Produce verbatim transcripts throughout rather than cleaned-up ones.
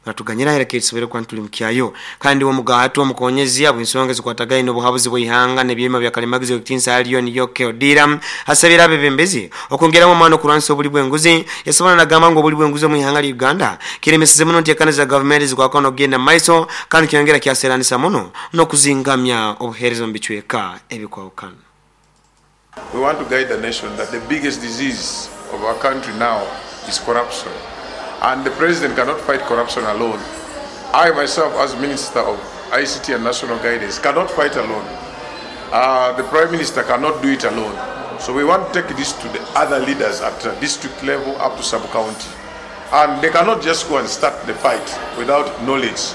Batuganyira era kisobere kwa ntuli mukyayo kandi wo mugato omukonyezi abo ensonga zikwatagaine obuhabuzi bw'ihanga n'ebyema bya kalemagizo ekitinsa aliyo niyo Keodira asabira abebembezi okongeramu amaani okulwanisa obuli bw'enguzi. Yasobona nagamba ngu obuli bw'enguzi mu ihanga lya Uganda kiremeseze muno nteekana za gavumenti zikwakana okugenda mu maiso kandi kyongera kyaseranisa muno n'okuzingamya obuheereza mu bicweka ebikwawukana. We want to guide the nation that the biggest disease of our country now is corruption. And the president cannot fight corruption alone. I myself, as Minister of I C T and National Guidance, cannot fight alone. Uh, the Prime Minister cannot do it alone. So we want to take this to the other leaders at the district level up to sub-county. And they cannot just go and start the fight without knowledge,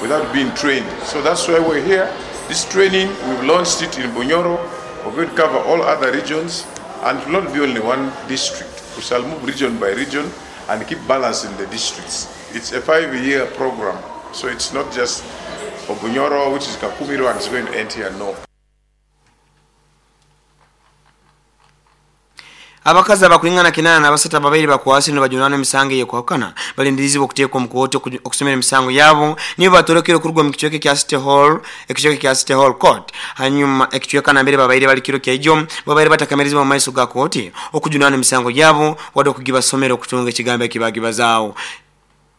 without being trained. So that's why we're here. This training, we've launched it in Bunyoro. We're going to cover all other regions, and it will not be only one district. We shall move region by region and keep balancing the districts. It's a five-year program, so it's not just for Bunyoro, which is Kakumiro, and it's going to end here, no. Abakazi abakwingana kinana n'abasatu ababaire bakwasi nibajunana emisango eyekwakana balindirizibwa okuteekwa omu kooti okusomera emisango yabo nibo batolokere okurugwa mu kicweka kya City Hall ekicweka kya City Hall Court. Hanyuma ekicweka nambere babaire bali kiro kyaijo babaire batakamerizibwa mu maiso ga kooti okujunana emisango yabo wadde okugibasomera okutunga ekigambo ekibagibazaawo.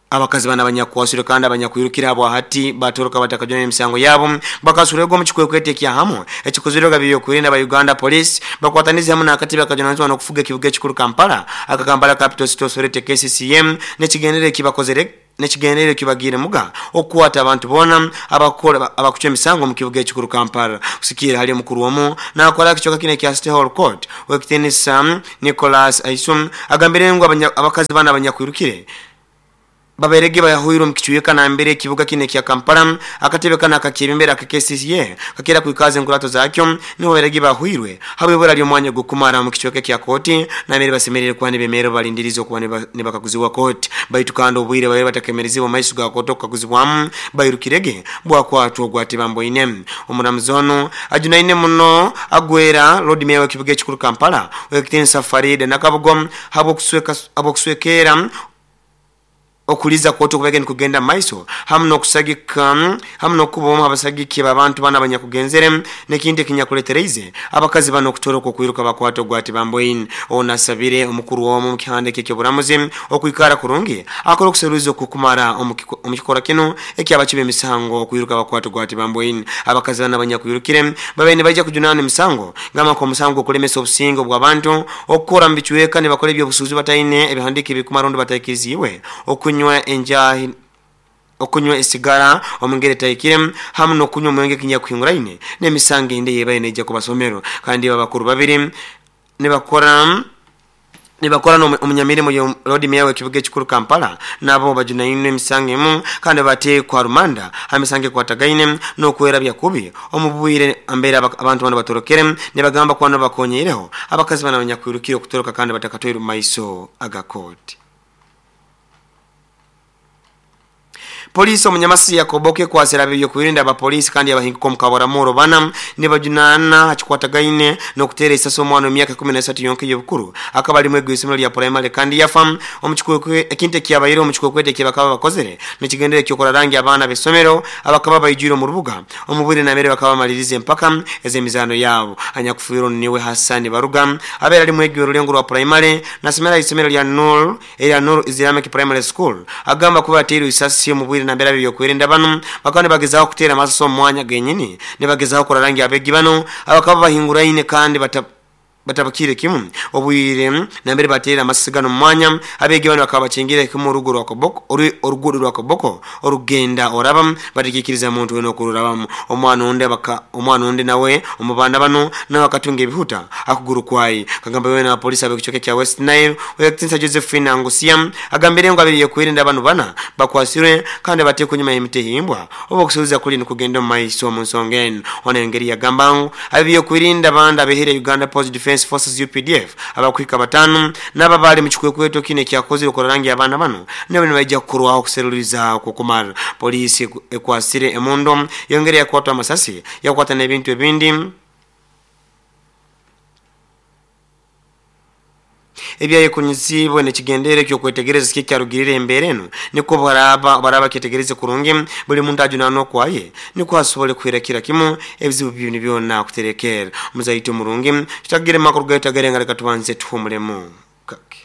Abakazi bana abanyakwasire kandi abanyakwirukira abo hati batoroka batakajuna emisango yabo bakasurego mu kikwekwete kya hamu ekikozerwa byo kurinda ba Uganda Police bakwataniza hamu nakati bakajunanizwa n'okufuga ekibuga ekikuru Kampala aka Kampala Capital City Authority K C C M n'ekigendere kibakozere n'ekigendere kibagire muga okukwata abantu bona abakora abakuca emisango mu kibuga ekikuru Kampala. Kusikira hali mukuru omu nakola kichoka kine kya City Hall Court wekitenisa Nicholas Aisum agambire ngo abakazi bana abanyakwirukire baberege bayahuiro mkichuyeka na mbere kibuga kine kya Kampala akatebe kana akakibimbera aka K C C A kakira kuikaze nkurato zakyo niho baberege bahuirwe habwe bali omwanya gukumara mu kichweka kya koti na mbere basemerere kwa nibemero balindirizo kwa nibakakuziwa koti baitu kando obwire babe batakemereziwa maiso ga koto kukaguzibwamu bairukirege bwakwatwa gwati bamboine. Omuramuzono ajunaine muno agwera Lord Mayor wa kibuga ekikuru Kampala wekitensa Farida Nakabugom habo kusweka abo kuswekera okuliza koto kubege nikugenda maiso hamu nokusagika hamu nokuboma abasagiki abantu bana abanyakugenzere nekindi kinyakuletereize abakazi bano okutoroka okwiruka bakwato gwati bamboin. Onasabire omukuru womu mukihande kyekyo okuikara kurungi akora okuseruza okukumara omukikora kino ekyabakibe emisango okwiruka bakwato gwati bamboin. Abakazi bana abanyakwirukire babaine baija kujunana emisango ngama ko omusango okulemesa obusingo bw'abantu okukora mbichweka ne bakora ebyobusuuzi bataine ebihandike bikumarondo bataikiriziwe okunywa enjahi okunywa esigara omungere taikire hamu nokunywa omwenge kinyakuhinguraine n'emisango ende yebaye neja kubasomero. Kandi babakuru babiri nibakora nibakora omunyamirimo yo Lord Mayor w'ekibuga ekikuru Kampala nabo bajunaine emisango emu kandi batekwa rumanda amisango kwatagaine n'okwera byakubi omubwire ambere abantu bano batorokere nibagamba kwano bakonyereho abakazi bana abanyakwirukire okutoroka kandi batakatwire mu maiso agakoti. Polisi omunyamasi yakoboke kwasira byo kurinda abapolisi kandi abahinguko mukaboramuro bana nibajunana hakikwatagaine nokutera isaso omwana emyaka kumi na esatu yonke yobukuru akaba ali mwego isomero lya primary kandi yafa omukikwekwe ekinte kyabayire omukikwekwete kyabakaba bakozere nekigendere kyokora rangi abana besomero abakaba bayijira mu rubuga omubwire namere bakaba malirize empaka ezemizano yabo. Anyakufuiro niwe Hassan Baruga abera ali mwego rulengo rwa primary nasomera isomero lya Nur era Nur Islamic Primary School agamba kuba atero isasi omubwire nambera byo kwerinda bano bakane bagezaho kutera amaso omwanya genyini nebagezaho kora rangi abegi bano abakaba bahinguraine kandi bata batabakire kimu obwire nambere batera amasigano mwanya abegi bano bakaba bachingire kimu urugo rwa Koboko orugudo rwa Koboko orugenda oraba batikikiriza muntu weno kururabamu omwana onde baka omwana onde nawe omubanda bano nawe akatunga ebihuta akuguru kwayi kagamba wewe na polisi abekichoke kya West Nile wekitinsa Josephine Angusia agambire ngo abiriye kwirinda bano bana bakwasirwe kandi bateko nyuma y'emitehimbwa obo kusubiza kuli nikugenda mu maiso mu nsonga ona engeri yagamba ngo abiye kwirinda banda behere Uganda Post Defense Forces U P D F abakwika batano n'ababali mu kikwekweto kine kyakozire okora rangi abana bano nabo nibajja kukurwaho kuseruriza kukumara. Polisi ekwasire emondo yongere yakwatwa amasasi yakwata n'ebintu ebindi ebyayekunyizibwe nekigendere kyokwetegereza kikyarugirire embere eno niko baraba baraba kyetegereze kurungi buli muntu ajunano kwaye niko asobole kwirakira kimu ebizibu byini byona kuterekera muzaito murungi kitagire makuru gaita leka tubanze tuhumulemu kake.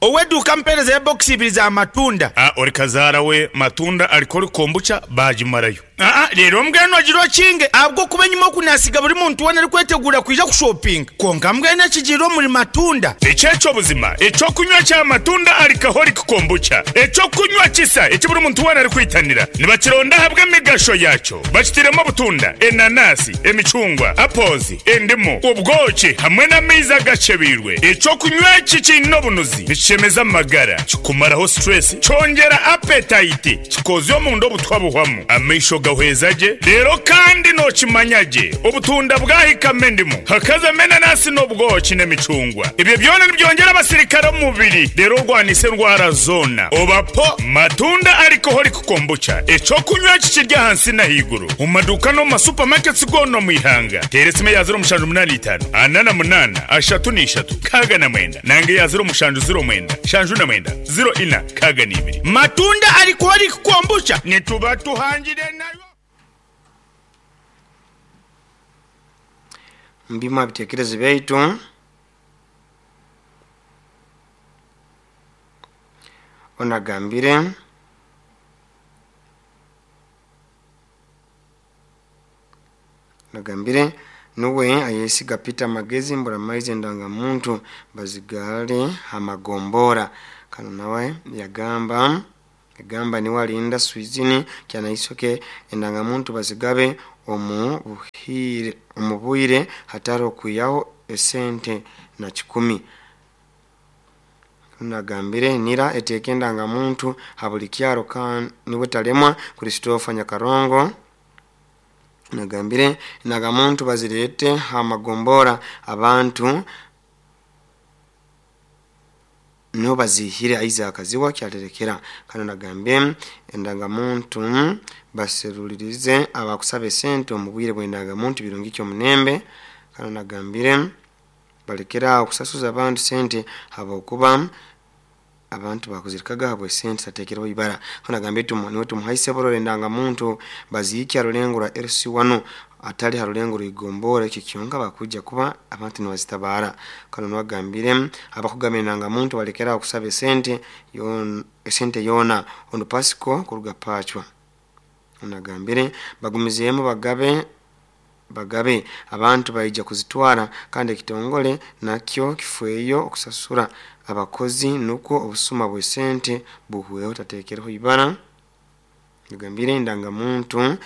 Oweduka mpereza ya box ibiri za matunda. Ah, ori kazara we matunda alikori kombucha bajimarayo. Ah, rero mbweno agiro kinge abwo kuba nyuma kunasiga buri muntu wana ari kwetegura kuja ku shopping. Konka mbwene kijiro muri matunda. Echecho buzima, echo kunywa cha matunda alikahori kombucha. Echo kunywa kisa, echo buri muntu wana ari kwitanira. Nibakironda habwe migasho yacho. Bakitiremo butunda, enanasi, emichungwa, apples, endimu, ubwoki hamwe n'amaizi agacebirwe. Echo kunywa kikino bunuzi. Chemeza magara kikumaraho stress chongera appetite kikozyo mundo butwabuhwamu amaisho gahwezaje rero kandi no kimanyaje obutunda bwahikamendimu hakaza menanasi n'obwoki n'emicungwa ibyo byona nibyongera abasirikare mu mubiri rero rwanise ndwara zona obapo matunda alcoholic kombucha eco kunywa kikirya hansi na higuru mu maduka no mu supermarkets gono mu ihanga teresime ya zero mushanju munani itanu anana munana ashatu n'ishatu kaga na mwenda nange ya zero mushanju zero mwenda shanju na mwenda zero ina kaga n'ibiri matunda alcoholic kombucha nituba tuhangire nayo. Mbima bitekerezo byaitu onagambire nagambire nuwe ayesiga Peter Magezi mbura maize ndanga muntu bazigale hamagombora kano nawe yagamba yagamba ni walinda swizini kyana isoke endanga muntu bazigabe omu buhire omubuire hataro kuyaho esente na kikumi. Nagambire nira eteke ndanga muntu habuli kyaro kan niwe talemwa Christopher Nyakarongo. Nagambire nagamuntu bazirete hamagombora abantu no bazihire Isaac Ziwa kyaterekera kano nagambe endangamuntu baserulirize abakusabe sente omubwire bw'endangamuntu birungi kyo munembe kano nagambire balekera okusasuza abantu sente habokuba abantu bakuzirikaga habwe sente tatekerwa ibara kano nagambe tumu niwe tumuhaise borore endangamuntu bazikya rulengo rwa L C one atali harulengo ruigombora iki kyonka bakuja kuba abantu nibazitabara kano nwagambire abakugamenanga muntu balekera okusaba sente yon sente yona ono pasiko kuruga pachwa unagambire bagumizemo bagabe bagabe abantu baija kuzitwara kandi ekitongole nakyo kifweyo okusasura abakozi nuko obusuma bwe sente buhweho tatekereho ibara nagambire ndanga muntu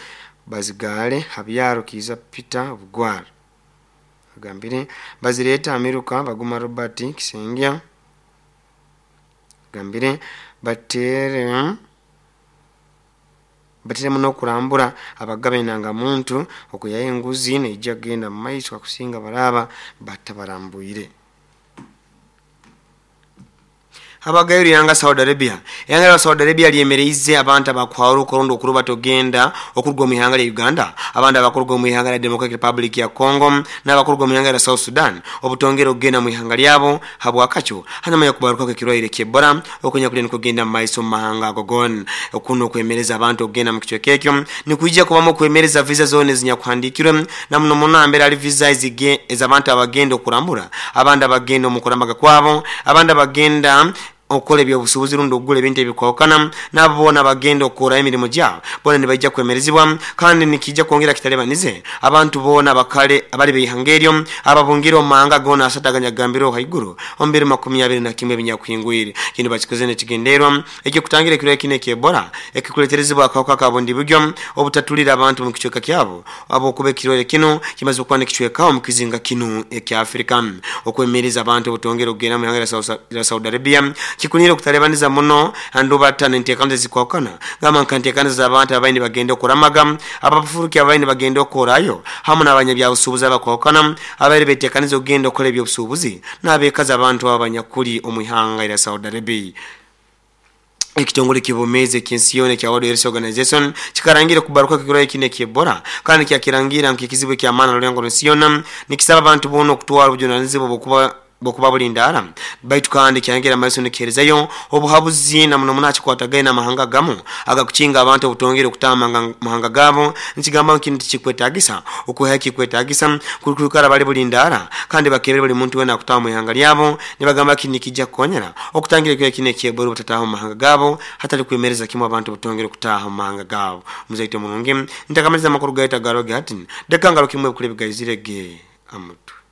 bazigale habyaro kiza Peter Bugwara agambire bazireta Amerika baguma Robert Kisengya gambire batere batere muno kurambura abagabe nanga muntu okuyaye enguzi neija genda mu maiso akusinga baraba batabarambuire. Abagayiri yanga Saudi Arabia yanga Saudi Arabia lyemereize abantu abakwaro okorondo okuruba togenda okurugwa mu ihanga lya Uganda abandi abakurugwa mu ihanga lya Democratic Republic ya Congo n'abakurugwa mu ihanga lya South Sudan obutongera ogenda mu ihanga lyabo habwakacho hanyuma yakubaruka kwekirwaire ky'Ebola okunya kuli nikugenda mu maiso mu mahanga agogon okuno okwemereza abantu ogenda mu kichweka ekyo nikujja kubamu okwemereza visa zone zinyakuhandikirwe na muno muno mbere ali visa ezige ez'abantu abagenda okurambura abandi abagenda mu kurambaga kwabo abandi abagenda okole ebyobusuubuzi rundi ogula ebintu ebikwawukana nabo bona bagenda okukora emirimu gyabo bona nibaija kwemerezibwa kandi nikijja kwongera kitalebanize abantu bona bakale abali beihanga eryo ababungira omu mahanga gona asataganya gambiro haiguru omu makumi abiri na kimwe ebinyakuhingwire kino bakikoze nekigenderwa ekyokutangira ekirwaire kino eky'Ebola ekikuleterezibwa akawuka ka bundi buryo obutatulira abantu mu kicweka kyabo abokuba ekirwaire kino kimaze okuba nekicwekaho mu kizinga kino ekya Afrika okwemereza abantu obutongera okugenda mu ihanga lya Saudi Arabia kikunire okutalebaniza muno andu batano enteekaniza zikwawukana gamba nka enteekaniza z'abantu abaini bagenda okuramaga abafuruki abaini bagenda okorayo hamu n'abanyabyabusuubuzi abakwawukana abaire beteekaniza okugenda okukola ebyobusuubuzi n'abeekazi abantu abanyakuli omu ihanga lya Saudi Arabia. Ekitongole ky'obwomeezi eky'ensi yoona ekya World Health Organization kikarangira okubaruka kw'ekirwaire kinu eky'Ebola, kandi kyakirangira nk'ekizibu eky'amaani ha rulengo rw'ensi yoona, nikisaba abantu boona okutwara obujunanizibwa bw'okuba bwokuba bulindaara, baitu kandi kyayongera maiso nikiheerezayo obuhabuzi na muno muno hakikwatagaine n'amahanga agamu agakukinga abantu obutongere okutaaha mahanga gaabo, nikigamba ngu kinu tikikwetaagisa okwihaho ekikwetaagisa kwikara bali bulindaara kandi bakebere buli muntu weena akutaaha mu ihanga lyabo. Nibagamba kinu nikijja kukonyera okutangira ekirwaire kinu eky'Ebola obutataaha mu mahanga gaabo, hatali kwemereza kimu abantu obutongere okutaaha mu mahanga gaabo. Muzaito murungi, ntakamaliza amakuru gaitu agaroge hati, deka ngarukimu ebikuru ebigaizire ge amutwe.